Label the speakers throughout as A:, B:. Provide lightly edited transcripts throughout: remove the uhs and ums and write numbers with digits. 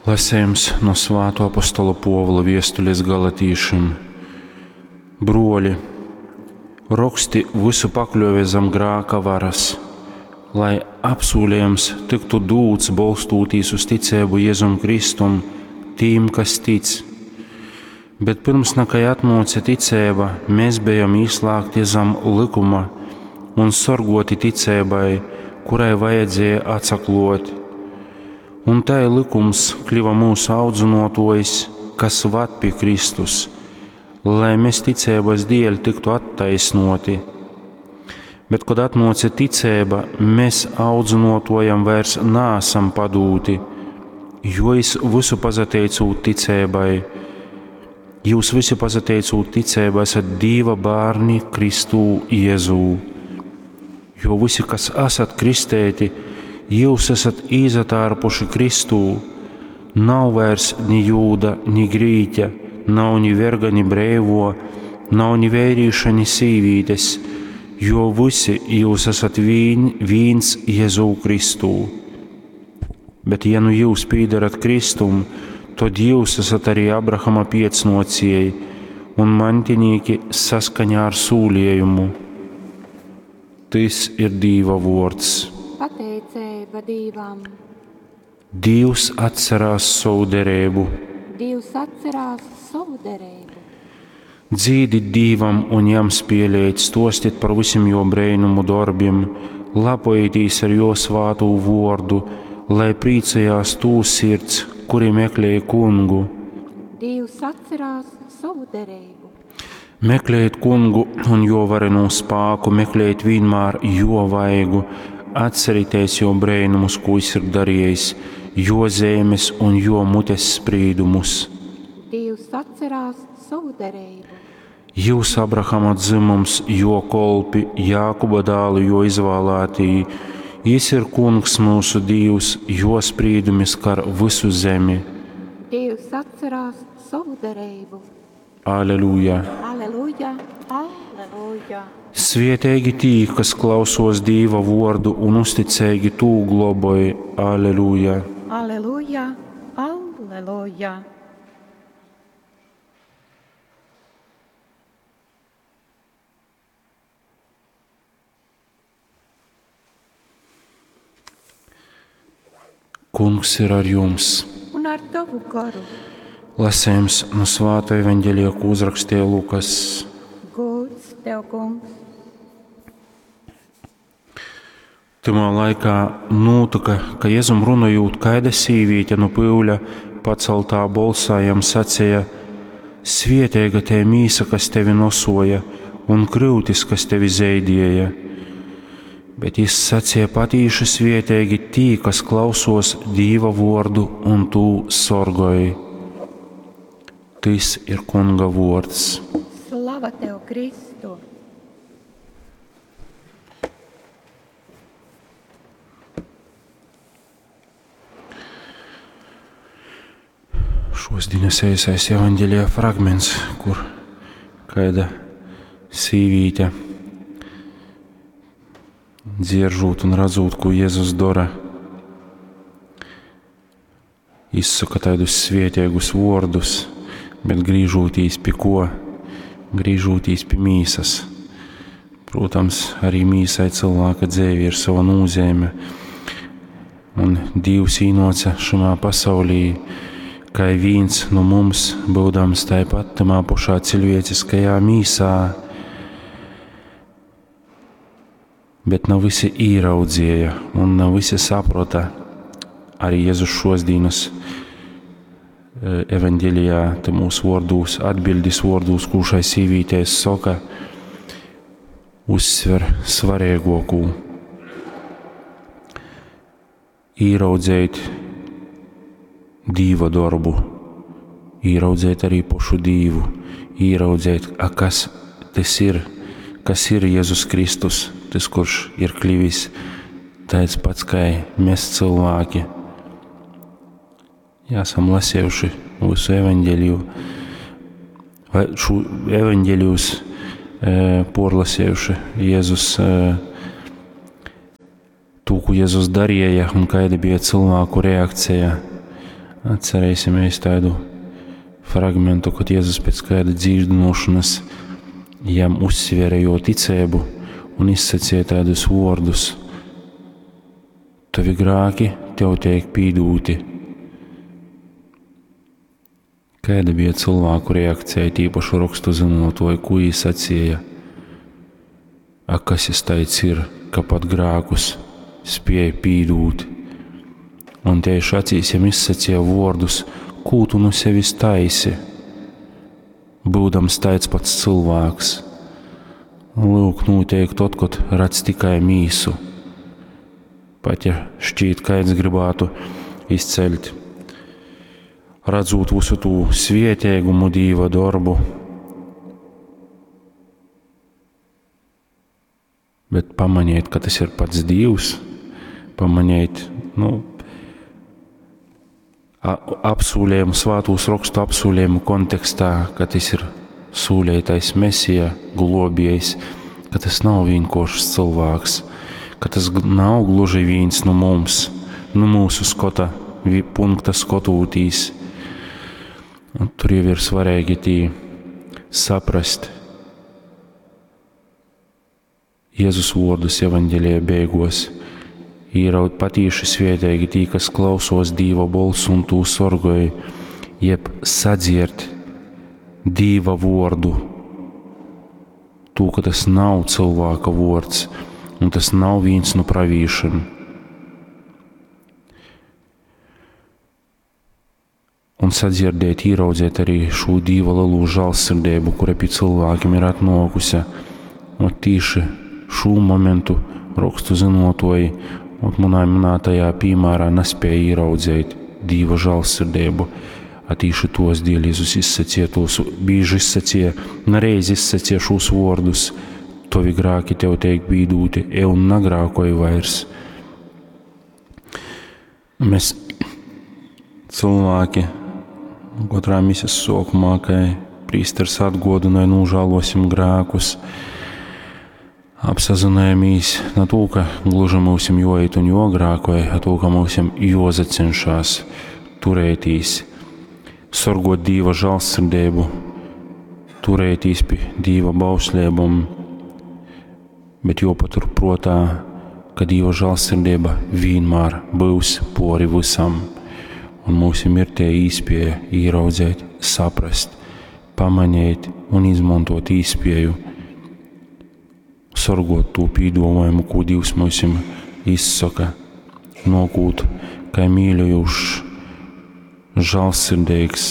A: Lasejums no Svātuo apostola Puovula viestulis galatīšim. Bruoli, roksti vysu pakļuove zam grāka varas, lai apsūlejums tyktu dūts bolstūtīs uz ticeibu Jezum Kristum tīm, kas tic. Bet pyrms nakai atnuoce ticeiba, mēs bejom īslāgti zam lykuma un sorguoti ticeibai, kurai vajadzēja atsakluot. Un tai lykums kliva mūsu audzynuotuojs, kas vad pi Kristus, lai mēs ticeibas dēļ tiktu attaisnoti. Bet, kad atnuoce ticeiba, mēs audzynuotuojam vairs naesam padūti, jo es visu pasateicūt ticeibai, jūs visi pasateicūt ticeibai esat Dīva bērni Kristū Jēzū. Jo visi, kas esat kristēti, jūs esat īsatārpuši Kristū. Nav vairs ni jūda, ni grīķa, nav ni verga, ni breivo, nav ni vērīša, ni sīvītes, jo visi jūs esat vīns Jēzū Kristū. Bet ja nu jūs pīdarat Kristum, tad jūs esat arī Abrahama piecnocieji un mantinīki saskaņā ar sūlījumu. Tys ir Dīva vuords.
B: Pateiceiba Dīvam.
A: Dīvs atcerās sovu derību.
B: Dievs atcerās savu derību.
A: Dzīdit Dīvam un jam spēlējit, stostit par visiem jo brēnumu darbiem, lapojitīs ar jo svātū vordu, lai priecājās tū sirds, kuri meklē kungu.
B: Dievs atcerās savu derību.
A: Meklējiet kungu un jo varenū spāku, meklējiet vienmēr jo vaigu, atcerieties jo brēnumus, ko jis ir darījis, jo zemes un jo mutes sprīdumus.
B: Dievs atcerās savu derību.
A: Jūs, Abrahama dzimums, jo kolpi, Jākuba dēlu, jo izvēlētī, jis ir kungs mūsu Dievs, jo sprīdumi skar visu zemi.
B: Dievs atcerās savu derību.
A: Aleluja!
B: Aleluja, aleluja.
A: Svietīgi tī, kas klausos Dīva vordu un uzticīgi tū globoj. Aleluja!
B: Aleluja, aleluja.
A: Kungs ir ar jums!
B: Un ar tavu garu.
A: Lasējums no Svāta evaņģēlija, ko uzrakstīja Lukas.
B: Gods tev, kungs.
A: Tymā laikā nūtyka, ka Jezum runojūt, kaida sīvīte nu pyuļa paceltā bolsā jam saceja: Svieteiga tē mīsa, kas tevi nosoja, un kryutis, kas tevi zeidieja. Bet jis saceja patīši svieteigi tī, kas klausos Dīva vordu un tū sorgoj. Tys ir Kunga vords.
B: Slava tev, Kristu!
A: Šos dienas eisais evaņģēlija fragments, kur kāda sīvīte dzieržūt un redzot, ko Jēzus dara, izsaka tādus svietīgus vārdus, bet grīžūtīs pie ko? Grīžūtīs pie mīsas. Protams, arī mīsai cilvēka dzīve ir sava nozīme, un Dievs īnoca šamā pasaulī, kā viens no mums, būdams tāpat tamā pašā cilvēciskajā mīsā, bet nav visi īraudzīja un nav visi saprota. Arī Jēzus šos dienas evaņģēlijā, te mūsu vārdūs, atbildis vārdūs, kuršai sīvītēs saka, uzsver svarīgāko. Īraudzēt Dīva darbu, īraudzēt arī pašu Dīvu, īraudzēt, a kas tas ir, kas ir Jēzus Kristus, tas, kurš ir kļuvis tāds pats kā mēs cilvēki. Jā, esam lasījuši visu evaņģēliju, vai šo evaņģēlijus porlasījuši Jēzus, to, ko Jēzus darīja un kāda bija cilvēku reakcija. Atcerēsimies tādu fragmentu, kad Jēzus pēc kāda dzīdinošanas jam uzsvēra jo ticību un izsacīja tādus vārdus: Tavi grāki tev tiek pīdūti. Kāda bija cilvēku reakcija, tīpaši rakstu zinotoju, ko viņi sacīja? A kas es taids ir, ka pat grākus spēja pīdūt? Un tieši acīs jam izsacīja vārdus, ko tu nu sevis taisi, būdams taids pats cilvēks. Lūk, notiek tad, kad redz tikai mīsu. Pat ja šķiet, kāds gribētu izceļt, redzot visu tū svietēgumu Dīva darbu, bet pamanīt, ka tas ir pats Dievs, pamanīt, nu, apsūlējumu, svātūs rakstu apsūlējumu kontekstā, ka tas ir sūlētais Mesija, globējs, ka tas nav vienkāršs cilvēks, ka tas nav gluži viens no mums, no mūsu skota, punkta skotūtīs. Un tur jau ir svarīgi tī saprast Jēzus vārdus evaņģēlijā beigos. Īraut patīši svētīgi tī, kas klausos Dīva bolsu un tū sorgoj, jeb sadziert Dīva vordu. Tū, ka tas nav cilvēka vords, un tas nav viens no pravīšiem. Un sadzirdēt, ieraudzēt arī šo Dīva lielo žēlsirdību, kura pie cilvēkiem ir atnākusi. Un tīši šo momentu rakstu zinotoji un manā minētajā piemērā nespēja ieraudzīt Dīva žēlsirdību. A tīši tos dēļ Jēzus izsacīja tos, bieži izsacīja, nereiz izsacīja šos vārdus: Tavi grāki tev tiek bīdūti, ej un nagrākoj vairs. Mēs cilvēki katrā misijas sākumā, kai prīsters atgodināja, nožēlosim grēkus, apsazinājamies na to, ka gluži mūsim jāiet un jogrākoja, a to, ka mūsim jozacenšās turētīs, sorgot Dīva žēlsirdību, turētīs pie Dīva bauslībām, bet jopatur prātā, ka Dīva žēlsirdība vienmēr būs pori visam, un mūsim ir tie īspēja ieraudzēt, saprast, pamanīt un izmantot īspēju, sorgot to pīdomājumu, ko Dievs mums izsaka, nokūt, kā mīļojušs, žēlsirdīgs,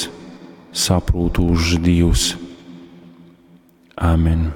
A: saprūtūšs Dievs. Amen.